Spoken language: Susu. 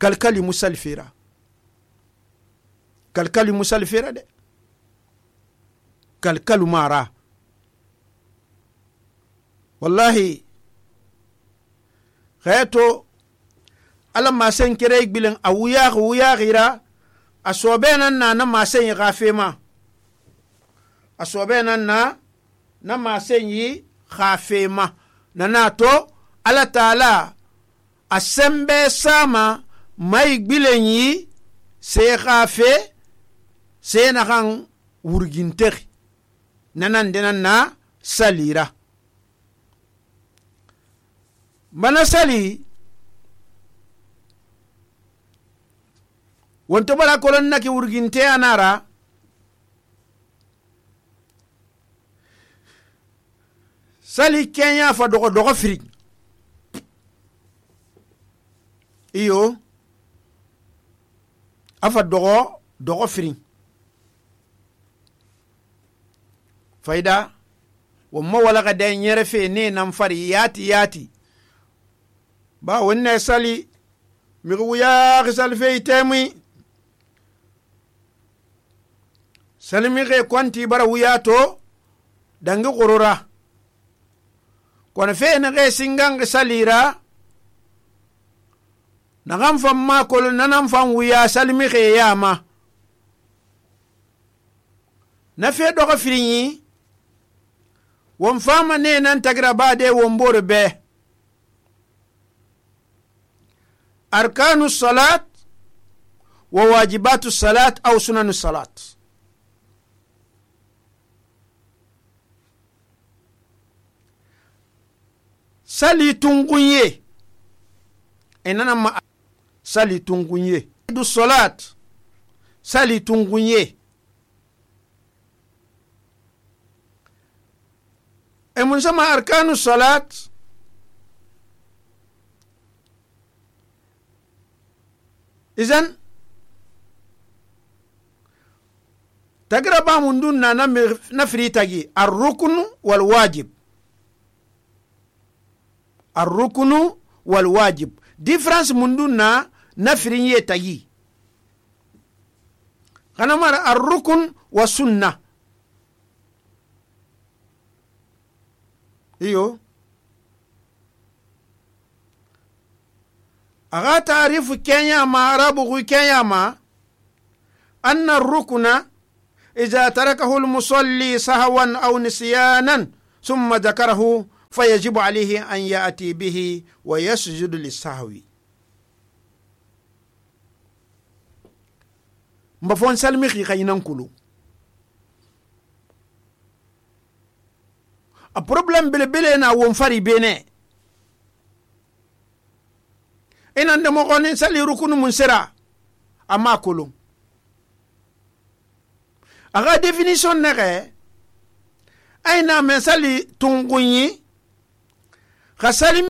kalkali musal fera de kalkalu mara wallahi khayato ala masen kire igbilen a wuya gira a sobe nan na masen yi gafema a sobe nan na masen yi gafema na to ala taala a sembe sama mai gbilen yi se gafe se na kan wurginteri nanan denan na salira mana sali wonto bara kolon naki wurginte anara sali kenya fa dogo firi iyo afa dogo firi faida wamma wala ga dan yere fe ne nan fari yati ba wonne sali mi wuya gisal fe temi salimi ge kwanti bara wuya to dangi qorora kono fe ne ge singang salira nagam fam ma kol nanam fam wuya salimi ge yama na fe dogo firinyi won fama ne nan tagra bade won bore be arkanu salat wa wajibatu salat aw sunanu salat sali tungunye enana ma sali tungunye du salat sali tungunye mun sama arkanu salat izan tagra ba mun dun na firi tagi ar-rukn wal wajib ar-rukn wal wajib difference mun dun na firi ye tagi kana mara ar-rukn wa sunnah iyo aga taarifu kenya ma arabu kenya ma anna ar-rukna idha tarakahu al-musalli sahwan aw nisyanan thumma dhakarahu fayajibu alayhi an ya'ti bihi wa yasjudu lis-sahwi mbafon salmi khaynan kulu a problem bele na won fari bene inan da mo gonin sali rukunu mun sira amma kulum aga definition nare aina men sali tungunyi khasali